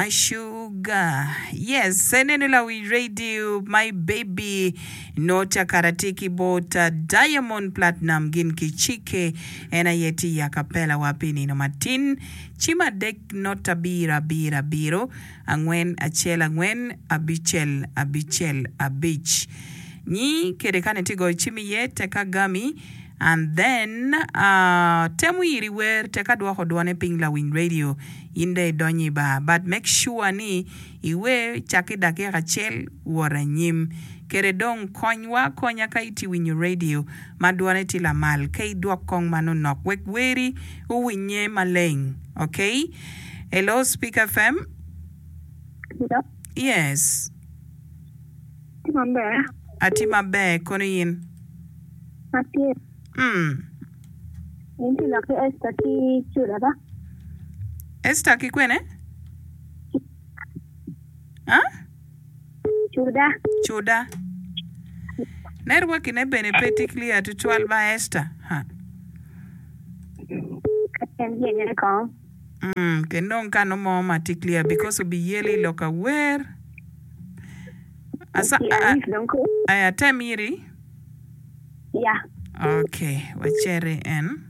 My sugar yes enenu lawi radio my baby nota kara tye ki bot Diamond Platinum gin ki Chike en aye tye i acapella wa pi nino matin cim adek nota abiro abiro abiro angwen acel angwen abicel abicel abic nyi kede kane tye goyo cim iye teka gami and then temo iri wer teka dwoko dwone piny lawiny radio In dong idonyo i bar but make sure ni iwer cak ki dakika acel wot anyim. Kede dong konywa akonya ka itye winyo radio ma dwone tye lamal ka idwok kong manonok wek weri owinye maleng ok. Hello Speak FM. Hello. Yes. Atye maber. Atye maber kono in? Atye. Mm. In tye lok ki Esta ki Cuda ba? Esta ki kwene? Ah? Cuda. Cuda. Network ne bene pe tye clear tutwal ba Esta. Ha. En yenye kong. Mm, kenong kano mo ma tye clear because obiyeli i lok awer. Asa, Yeah, dong ko. atem iri. Ya. Ok, wacit i en.